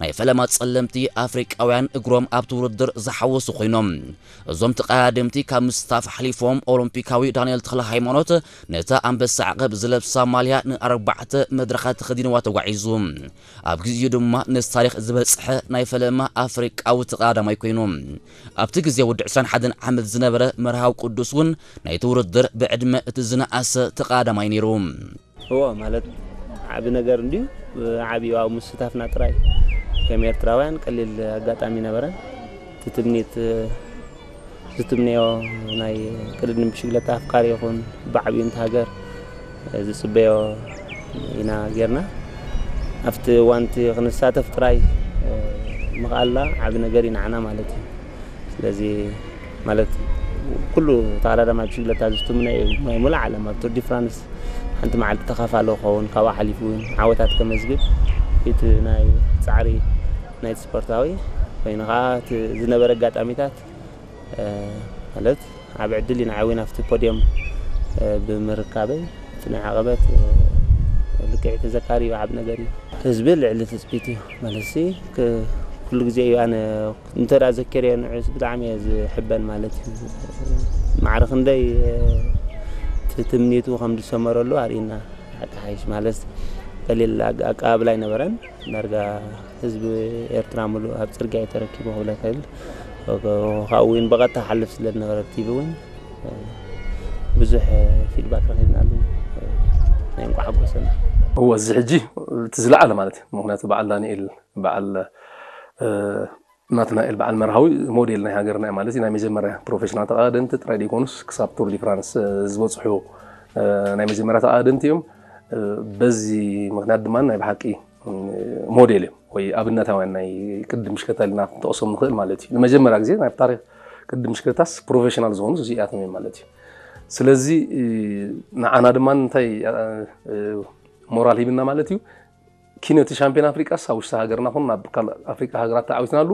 ናይ ፈለማ ጸለምቲ ኣፍሪቃውያን እግሮም ኣብቲ ውድድር ዝሓወሱ ኮይኖም። እዞም ተቐዳደምቲ ካብ ምስታፍ ሓሊፎም ኦሎምፒካዊ ዳንኤል ተኽለ ሃይማኖት ነታ ኣንበሳ ዓቐብ ዝለብሳ ማልያ ንኣርባዕተ መድረኻት ተኸዲንዋ ተጓዒዙ። ኣብ ግዜኡ ድማ ነቲ ታሪኽ ዝበጽሐ ናይ ፈለማ ኣፍሪቃዊ ተቐዳዳማይ ኮይኑ። ኣብቲ ግዜ ወዲ ዕስራን ሓደን ዓመት ዝነበረ መርሃዊ ቅዱስ እውን ናይቲ ውድድር ብዕድመ እቲ ዝነኣሰ ተቐዳዳማይ ነይሩ። እዎ ማለት ዓቢ ነገር እንድዩ። ዓቢ ኣብ ምስታፍና ጥራይ ከም ኤርትራውያን ቀሊል ኣጋጣሚ ነበረን። እቲ ትምኒት ዝትምነዮ ናይ ቅድድም ብሽግለታ ኣፍቃሪ ይኹን ብዓቢኡ እንተ ሃገር ዝጽበዮ ኢና ጌርና። ኣብቲ እዋንቲ ክንሳተፍ ጥራይ ምኽኣልና ዓቢ ነገር እዩ ንዓና ማለት እዩ። ስለዚ ማለት ኩሉ ተቐዳዳማይ ብሽግለታ ዝትምነ እዩ ናይ ሙሉእ ዓለም ኣብ ቱር ዲ ፍራንስ ሓንቲ መዓልቲ ተኻፋሊ ክኸውን ካብኡ ሓሊፉ እውን ዓወታት ከመዝግብ እቲ ናይ ጻዕሪ ናይቲ ስፖርታዊ ኮይኑ ከዓ እቲ ዝነበረ ኣጋጣሚታት ማለት ዓብ ዕድል ኢና ዓዊና ኣብቲ ፖድዮም ብምርካበይ እቲ ናይ ዓቐበት ልክዕ ተዘካሪ እዩ ዓብ ነገር እዩ። ህዝቢ ልዕሊ ትፅቢት እዩ ማለት ኩሉ ግዜ እዩ ኣነ እንተ ዘኪረዮ ንዑስ ብጣዕሚ እየ ዝሕበን ማለት እዩ። ማዕረ ክንደይ እቲ ትምኒቱ ከም ዝሰመረሉ ኣርእና ሓቂ ሓይሽ ማለት ቀሊል ኣቀባብላ ኣይነበረን። ዳርጋ ህዝቢ ኤርትራ ሙሉእ ኣብ ጽርግያ እዩ ተረኪቡ ክብለ ይኽእል። ካብኡ እውን ብቐጥታ ሓልፍ ስለ ዝነበረ ቲቪ እውን ብዙሕ ፊድባክ ረኺብናሉ ናይ እንቋዕ ሓጎሰና። እወ እዚ ሕጂ እቲ ዝለዓለ ማለት እዩ። ምክንያቱ በዓል ዳንኤል በዓል ናትናኤል በዓል መርሃዊ ሞዴል ናይ ሃገርና እዩ ማለት እዩ። ናይ መጀመርያ ፕሮፌሽናል ተቐዳደምቲ ጥራይ ዘይኮኑስ ክሳብ ቱር ዲ ፍራንስ ዝበፅሑ ናይ መጀመርያ ተቐዳደምቲ እዮም። በዚ ምክንያት ድማ ናይ ብሓቂ ሞዴል እዮም ወይ ኣብነታውያን ናይ ቅድድም ብሽክለታ ኢልና ክንጠቕሶም ንኽእል ማለት እዩ። ንመጀመርያ ግዜ ናይ ታሪክ ቅድድም ብሽክለታስ ፕሮፌሽናል ዝኾኑ እዚኣቶም እዮም ማለት እዩ። ስለዚ ንዓና ድማ እንታይ ሞራል ሂብና ማለት እዩ። ኪነቲ ሻምፒዮን ኣፍሪቃስ ኣብ ውሽጢ ሃገርና ኹን ናብ ካልእ ኣፍሪቃ ሃገራት ተዓዊትናሉ።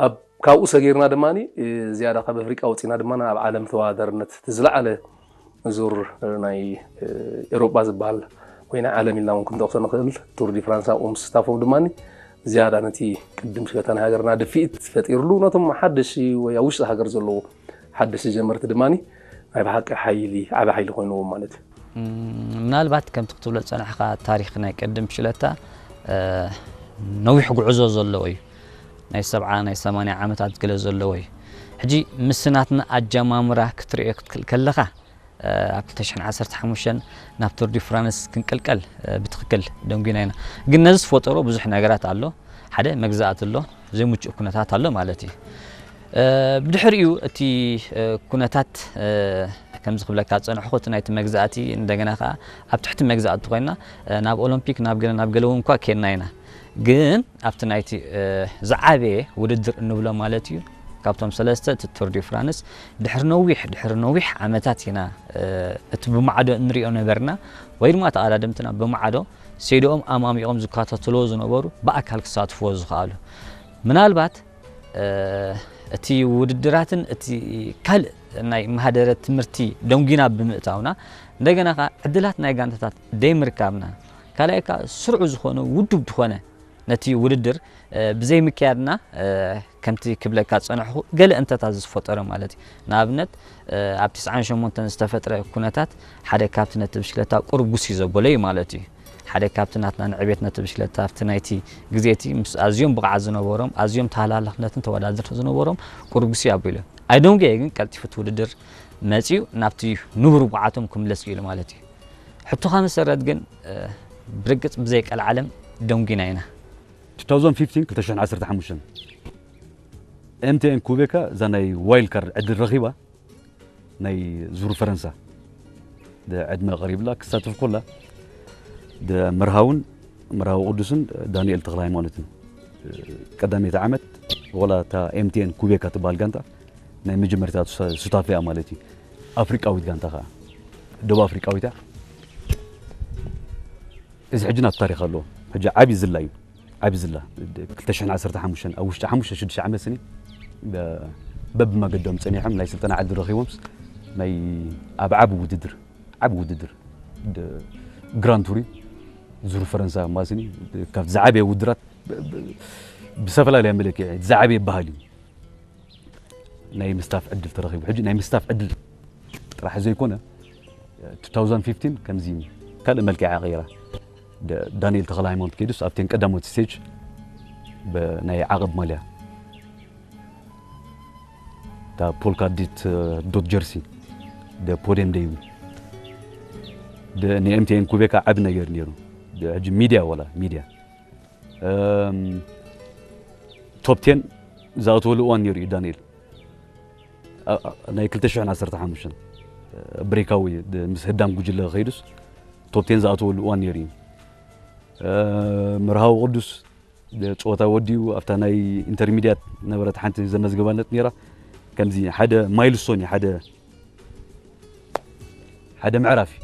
ኣብ ካብኡ ሰጊርና ድማ ዝያዳ ካብ ኣፍሪቃ ወፂና ድማ ኣብ ዓለም ተወዳዳርነት እቲ ዝለዓለ ዙር ናይ ኤሮጳ ዝበሃል ወይ ናይ ዓለም ኢልና እውን ክንጠቕሶ ንኽእል ቱር ዲ ፍራንስ ኣብኡ ምስታፎም ድማ ዝያዳ ነቲ ቅድም ሽገታ ናይ ሃገርና ድፍኢት ፈጢርሉ ነቶም ሓደሽቲ ወይ ኣብ ውሽጢ ሃገር ዘለዉ ሓደሽቲ ጀመርቲ ድማ ናይ ብሓቂ ሓይሊ ዓቢ ሓይሊ ኮይንዎም ማለት እዩ። ምናልባት ከምቲ ክትብሎ ዝጸናሕካ ታሪኽ ናይ ቅድም ሽለታ ነዊሕ ጉዕዞ ዘለዎ እዩ። ናይ ሰብዓ ናይ ሰማንያ ዓመታት ገለ ዘለዎ እዩ። ሕጂ ምስ ናትና ኣጀማምራ ክትርእዮ ክትክል ከለኻ ኣብ ክልተ ሽሕን ዓሰርተ ሓሙሽተን ናብ ቱር ዲ ፍራንስ ክንቅልቀል ብትኽክል ደንጒና ኢና። ግን ነዚ ዝፈጠሮ ብዙሕ ነገራት ኣሎ። ሓደ መግዛእቲ ኣሎ፣ ዘይምቹእ ኩነታት ኣሎ ማለት እዩ። ብድሕሪኡ እቲ ኩነታት ከምዚ ክብለካ ዝጸንሕኩ እቲ ናይቲ መግዛእቲ እንደገና ከኣ ኣብ ትሕቲ መግዛእቲ ኮይና ናብ ኦሎምፒክ ናብ ገለ ናብ ገለ እውን እኳ ኬድና ኢና። ግን ኣብቲ ናይቲ ዝዓበየ ውድድር እንብሎ ማለት እዩ ካብቶም ሰለስተ እቲ ቱር ዲ ፍራንስ ድሕሪ ነዊሕ ድሕሪ ነዊሕ ዓመታት ኢና እቲ ብማዕዶ እንሪኦ ነበርና ወይ ድማ ተቐዳደምትና ብማዕዶ ሴድኦም ኣማሚቖም ዝከታተልዎ ዝነበሩ ብኣካል ክሳትፍዎ ዝኸኣሉ ምናልባት እቲ ውድድራትን እቲ ካልእ ናይ ማህደረ ትምህርቲ ደንጒና ብምእታውና እንደገና ከኣ ዕድላት ናይ ጋንታታት ደይምርካብና ካልኣይ ከኣ ስርዑ ዝኾነ ውዱብ ዝኾነ ነቲ ውድድር ብዘይምክያድና ከምቲ ክብለካ ዝጸናሕኹ ገለ እንተታት ዝፈጠረ ማለት እዩ። ንኣብነት ኣብ ትስዓን ሸሞንተን ዝተፈጥረ ኩነታት ሓደ ካብቲ ነቲ ብሽክለታ ቁሩብ ጉስይ ዘበሎ እዩ ማለት እዩ። ሓደ ካብቲ ናትና ንዕቤት ነቲ ብሽክለታ ኣብቲ ናይቲ ግዜ እቲ ምስ ኣዝዮም ብቕዓት ዝነበሮም ኣዝዮም ተሃላላኽነትን ተወዳደርቲ ዝነበሮም ቁሩብ ጉስይ ኣቢሉ። ኣይደንጎየ ግን ቀልጢፉ እቲ ውድድር መጺኡ ናብቲ ንቡር ብቕዓቶም ክምለስ ክኢሉ ማለት እዩ። ሕቶኻ መሰረት ግን ብርግጽ ብዘይ ቀልዓለም ደንጒና ኢና። two thousand fifteen ክልተ ሽሕን ዓሰርተ ሓሙሽተን ኤምቲኤን ኩቤካ እዛ ናይ ዋይልድ ካርድ ዕድል ረኺባ ናይ ዙር ፈረንሳ ዕድመ ቀሪብላ ክሳተፍ ኮላ መርሃውን መርሃዊ ቅዱስን ዳንኤል ተክለ ሃይማኖትን ቀዳመይቲ ዓመት ወላ እታ ኤምቲኤን ኩቤካ ትበሃል ጋንታ ናይ መጀመርታ ሱታፊያ ማለት እዩ ኣፍሪቃዊት ጋንታ ከዓ ደቡብ ኣፍሪቃዊት እያ እዚ ሕጂ ናብ ታሪክ ኣለዎ ሕጂ ዓብዪ ዝላ እዩ ዓብዪ ዝላ ክልተ ሽሕን ዓሰርተ ሓሙሽተን ኣብ ውሽጢ ሓሙሽተ ሽዱሽተ ዓመት ስኒ በብመገዶም ፀኒሖም ናይ ስልጠና ዕድል ረኪቦምስ ናይ ኣብ ዓቢ ውድድር ዓቢ ውድድር ግራን ቱሪ ዙር ፈረንሳ ማስኒ ካብ ዝዓበየ ውድራት ብዝተፈላለየ መለክዒ ዝዓበየ ባህል እዩ። ናይ ምስታፍ ዕድል ተረኺቡ። ሕጂ ናይ ምስታፍ ዕድል ጥራሕ ዘይኮነ፣ two thousand fifteen ከምዚ ካልእ መልክዓ ቀይራ። ዳንኤል ተኽለ ሃይማኖት ከይዱስ ኣብተን ቀዳሞት ስቴጅ ናይ ዓቐብ ማልያ፣ እታ ፖልካ ዲት ዶት ጀርሲ ፖዲየም ደይቡ። ንኤምቲኤን ኩቤካ ዓቢ ነገር ነይሩ። ሕጂ ሚድያ፣ ዋላ ሚድያ ቶፕ ቴን ዝኣተወሉ እዋን ነይሩ እዩ። ዳንኤል ናይ ክልተ ሽሕን ዓሰርተ ሓሙሽተን ብሬካዊ ምስ ህዳም ጉጅለ ከይዱስ ቶፕ ቴን ዝኣተወሉ እዋን ነይሩ እዩ። መርሃዊ ቅዱስ ጸወታ ወዲኡ ኣብታ ናይ ኢንተርሚድያት ነበረት ሓንቲ ዘመዝገባነት ነይራ። ከምዚ ሓደ ማይልስቶን እዩ፣ ሓደ ሓደ ምዕራፍ እዩ።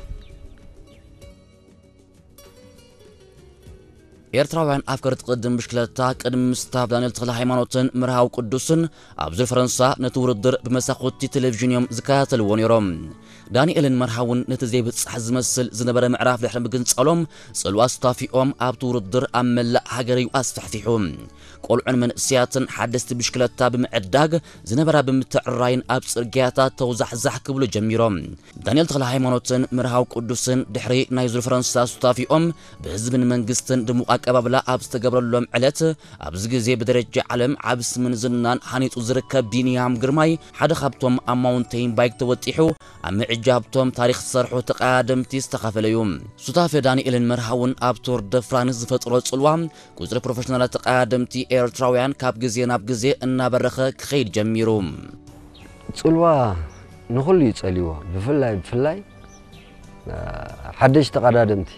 ኤርትራውያን ኣፍቀርቲ ቅድም ብሽክለታ ቅድሚ ምስታፍ ዳንኤል ተኽለ ሃይማኖትን መርሃዊ ቅዱስን ኣብ ዙር ፈረንሳ ነቲ ውድድር ብመሳኹቲ ቴሌቪዥን እዮም ዝከታተልዎ ነይሮም። ዳንኤልን መርሃውን ነቲ ዘይብጻሕ ዝመስል ዝነበረ ምዕራፍ ድሕሪ ምግንጻሎም ጽልዋ ኣስታፊኦም ኣብቲ ውድድር ኣብ መላእ ሃገር እዩ ኣስፋሕፊሑ። ቆልዑን መንእሰያትን ሓደስቲ ብሽክለታ ብምዕዳግ ዝነበራ ብምትዕራይን ኣብ ጽርግያታት ተውዛሕዛሕ ክብሉ ጀሚሮም። ዳንኤል ተኽለ ሃይማኖትን መርሃዊ ቅዱስን ድሕሪ ናይ ዙር ፈረንሳ ሱታፊኦም ብህዝብን መንግስትን ድሙቕ ኣቀባብላ ኣብ ዝተገብረሎም ዕለት ኣብዚ ግዜ ብደረጃ ዓለም ዓብ ስምን ዝናን ሃኒጹ ዝርከብ ቢንያም ግርማይ ሓደ ካብቶም ኣብ ማውንቴን ባይክ ተወጢሑ ኣብ ምዕጃብቶም ታሪኽ ዝሰርሑ ተቐዳደምቲ ዝተኻፈለ እዩ። ሱታፌ ዳንኤልን መርሃውን ኣብ ቱር ደ ፍራንስ ዝፈጥሮ ጽልዋ ቁጽሪ ፕሮፌሽናላት ተቐዳደምቲ ኤርትራውያን ካብ ግዜ ናብ ግዜ እናበረኸ ክኸይድ ጀሚሩ። ጽልዋ ንኹሉ እዩ ጸልይዎ። ብፍላይ ብፍላይ ሓደሽቲ ተቐዳደምቲ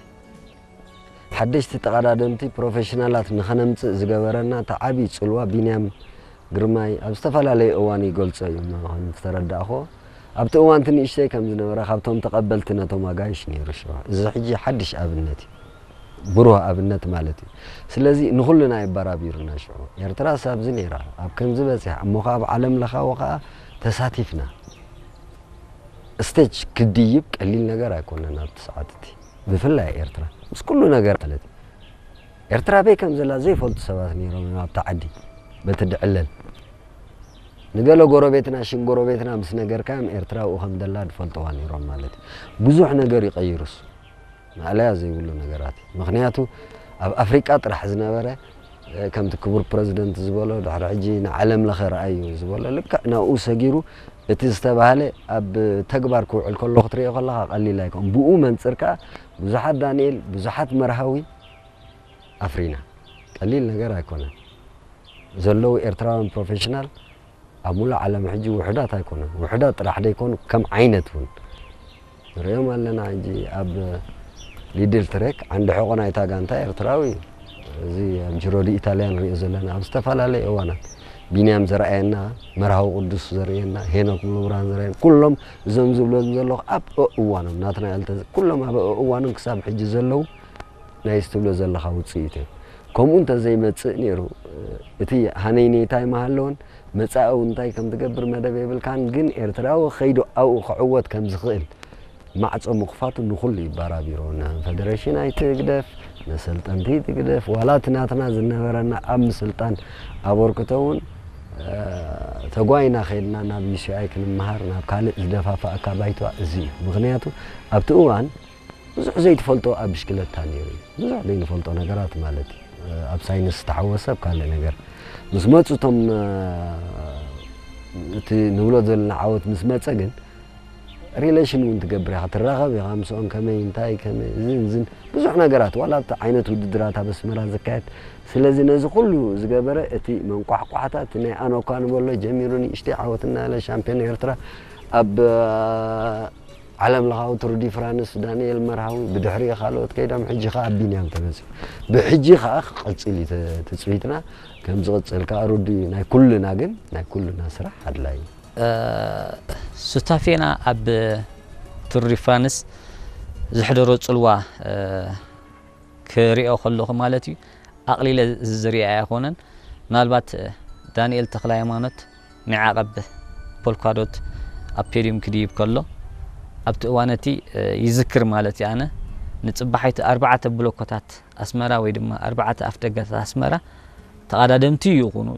ሓደሽቲ ተቐዳደምቲ ፕሮፌሽናላት ንኸነምጽእ ዝገበረና እቲ ዓብዪ ጽልዋ ቢንያም ግርማይ ኣብ ዝተፈላለየ እዋን ይገልጾ እዩ። ከም ዝተረዳእኹዎ ኣብቲ እዋን እቲ ንእሽተይ ከም ዝነበረ ካብቶም ተቐበልቲ ነቶም ኣጋይሽ ነይሩ። ሽዑ እዚ ሕጂ ሓድሽ ኣብነት እዩ። ብሩህ ኣብነት ማለት እዩ። ስለዚ ንኹልና የበራቢሩና። ሽዑ ኤርትራስ ኣብዚ ነይራ ኣብ ከምዚ በጺሓ እሞ ከኣ ኣብ ዓለም ለኻዊ ከኣ ተሳቲፍና። ስቴጅ ክድይብ ቀሊል ነገር ኣይኮነን ኣብቲ ሰዓት እቲ ብፍላይ ኤርትራ ምስ ኩሉ ነገር ማለት እዩ። ኤርትራ በይ ከም ዘላ ዘይፈልጡ ሰባት ነይሮም እዮም ኣብቲ ዓዲ በቲ ድዕለል ንገለ ጎረቤትና ሽም ጎረቤትና ምስ ነገርካዮም ኤርትራ ኣብኡ ከም ዘላ ዝፈልጥዋ ነይሮም ማለት እዩ። ብዙሕ ነገር ይቐይሩስ ማእለያ ዘይብሉ ነገራት እዩ። ምክንያቱ ኣብ ኣፍሪቃ ጥራሕ ዝነበረ ከምቲ ክቡር ፕረዚደንት ዝበሎ ድሕሪ ሕጂ ንዓለም ለኸ ረኣዩ ዝበሎ ልክዕ ናብኡ ሰጊሩ እቲ ዝተባህለ ኣብ ተግባር ክውዕል ከሎ ክትሪኦ ከለኻ ቀሊል ኣይኮን። ብኡ መንፅር ከዓ ብዙሓት ዳንኤል ብዙሓት መርሃዊ ኣፍሪና ቀሊል ነገር ኣይኮነን። ዘለዉ ኤርትራውያን ፕሮፌሽናል ኣብ ሙሉእ ዓለም ሕጂ ውሑዳት ኣይኮኑን። ውሑዳት ጥራሕ ደይኮኑ ከም ዓይነት እውን ንሪኦም ኣለና። ሕጂ ኣብ ሊድል ትሬክ ዓንዲ ሕቖ ናይታ ጋንታ ኤርትራዊ እዩ። እዚ ኣብ ጅሮ ዲ ኢታልያ ንሪኦ ዘለና ኣብ ዝተፈላለየ እዋናት ቢንያም ዘርኣየና፣ መርሃዊ ቅዱስ ዘርእየና፣ ሄኖክ ሙሉብርሃን ዘርእየና ኩሎም እዞም ዝብሎም ዘለኹ ኣብ እዋኖም ናትና ያልተ ኩሎም ኣብ እዋኖም ክሳብ ሕጂ ዘለዉ ናይዚ ትብሎ ዘለኻ ውፅኢት እዮም። ከምኡ እንተዘይመፅእ ነይሩ እቲ ሃነይነይታይ ምሃለወን መፃኢ እውን እንታይ ከም ትገብር መደብ የብልካን። ግን ኤርትራዊ ከይዱ ኣብኡ ክዕወት ከም ዝኽእል ማዕፆ ምኽፋቱ ንኹሉ ይባራቢሮ። ንፈደሬሽን ኣይትግደፍ፣ ነሰልጠንቲ ትግደፍ፣ ዋላ እቲ ናትና ዝነበረና ኣብ ምስልጣን ኣበርክቶ እውን ተጓይና ከይድና ናብ ዩሲኣይ ክንመሃር ናብ ካልእ ዝደፋፍኣካ ባይታ እዚ እዩ። ምክንያቱ ኣብቲ እዋን ብዙሕ ዘይትፈልጦ ኣብ ብሽክለታ ነይሩ እዩ። ብዙሕ ዘይንፈልጦ ነገራት ማለት እዩ። ኣብ ሳይንስ ዝተሓወሰ ኣብ ካልእ ነገር ምስ መፁ እቶም እቲ ንብሎ ዘለና ዓወት ምስ መፀ ግን ሪሌሽን እውን ትገብር ኢኻ፣ ትራኸብ ኢኻ ምስኦም ከመይ እንታይ ከመይ እዝን እዝን ብዙሕ ነገራት ዋላ ኣብቲ ዓይነት ውድድራት ኣብ ኣስመራ ዝካየድ ስለዚ ነዚ ኩሉ ዝገበረ እቲ መንቋሕቋሕታ እቲ ናይ ኣኖኳ ንበሎ ጀሚሩ ንእሽተይ ዓወት እናበለ ሻምፒዮን ኤርትራ ኣብ ዓለም ለኻዊ ቱር ዲ ፍራንስ ዳንኤል መርሃዊ ብድሕሪኡ ካልኦት ከይዶም ሕጂ ከዓ ኣብ ቢንያም ተበፂሑ ብሕጂ ከዓ ክቐፅል እዩ ትፅቢትና ከም ዝቕፅል ከዓ ርዱ እዩ ናይ ኩልና ግን ናይ ኩልና ስራሕ ኣድላይ እዩ ሱታፌና ኣብ ቱር ዲ ፍራንስ ዘሕደሮ ፅልዋ ክሪኦ ከለኹ ማለት እዩ ኣቕሊለ ዝሪኣ ኣይኮነን ምናልባት ዳንኤል ተኽለ ሃይማኖት ናይ ዓቐብ ፖልኳዶት ኣብ ፔድዩም ክድይብ ከሎ ኣብቲ እዋን እቲ ይዝክር ማለት እዩ ኣነ ንጽባሒቲ ኣርባዕተ ብሎኮታት ኣስመራ ወይ ድማ ኣርባዕተ ኣፍደጋታት ኣስመራ ተቐዳደምቲ ይኹኑ።